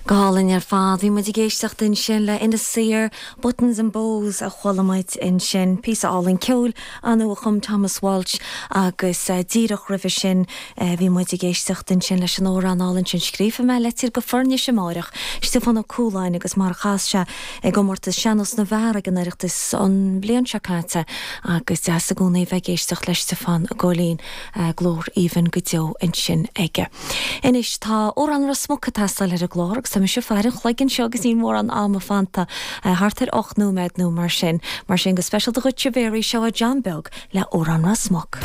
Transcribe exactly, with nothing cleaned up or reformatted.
Go hálainn ar fad bhí muid ag éisteacht ansin le Inis Oírr Buttons and Bows a chuala muid ansin píosa álainn ceoil ann a chum Thomas Walsh agus uh, díreach roimhe sin uh, bhí muid ag éisteacht ansin leis an amhrán álainn sin scríobfaidh mé litir go Foirnis amárach Stiofán Ó Cualáin agus mar chas sé ag gcomórtas sean-nós na bhfear ag an Oireachtas an bhliain seo caite agus deas i gcónaí bheith ag éisteacht le Stiofán Góilín uh, glór aoibhinn go deo ansin aige. Anois tá amhrán Ros Muc ag teastáil ar an gclár agus tá mise ag faire an chloig anseo agus níl mórán ama fanta uh, thart ar ocht nóiméad nó mar sin, mar sin go speisialta dhuit a Mhéaraí seo John Beag le amhrán Ros Muc.